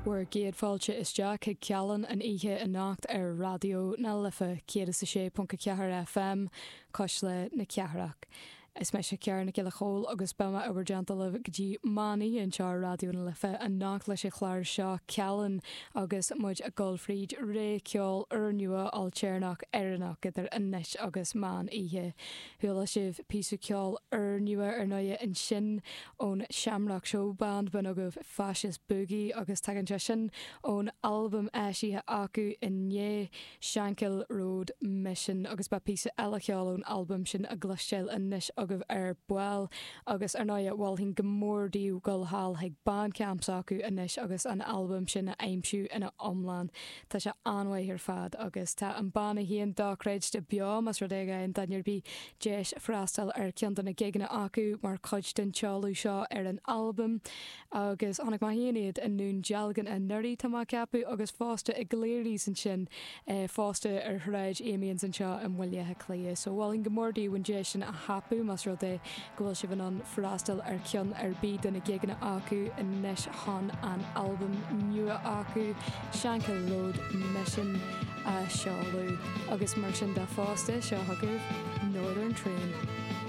Bhur gcéad fáilte isteach chuig Cealann an oíche anocht ar Raidió na Life 106.4 FM, Cuisle na Cathrach. Is mise Ciara Nic Giolla Chóill agus beidh mé i bhur dteannta libh go dtí meán oíche anseo ar Raidió na Life anocht leis an chlár seo Cealann agus muid ag dul fríd rogha ceoil úrnua ailtéarnach Éireannach idir anois agus meán oíche. Chuala sibh píosa ceoil úrnua ar ndóighe ansin ón Shamrock Showband, b'in agaibh Fascist Boogie agus tagann sé sin ón albam eisithe acu inné, Shankill Road Mission agus beidh píosa eile ceoil ón albam sin á gcloisteáil anois agaibh ar ball agus ar ndóighe mholfainn go mór daoibh dul thall chuig Bandcamp s'acu anois agus an albam sin a aimsiú ina iomlán. Tá sé an-mhaith ar fad agus tá an banna féin dochreidte beo más rud é go bhfaigheann duine ar bith deis freastal ar cheann de na gigeanna acu mar chuid den tseoladh seo ar an albam. Agus chonaic mé féin iad i nDún Dealgan anuraidh, tá mé ag ceapadh, agus fosta i gCleary's ansin, fosta ar Shráid Amiens anseo i mBaile Átha Cliath. So mholfainn go mór daoibh an deis sin a thapú más rud é go bhfuil sibh in ann freastal ar cheann ar bith de na gigeanna acu anois chun an albam nua acu, Shankill Road Mission, a sheoladh. Agus mar sin de fosta, seo chugaibh Northern Train.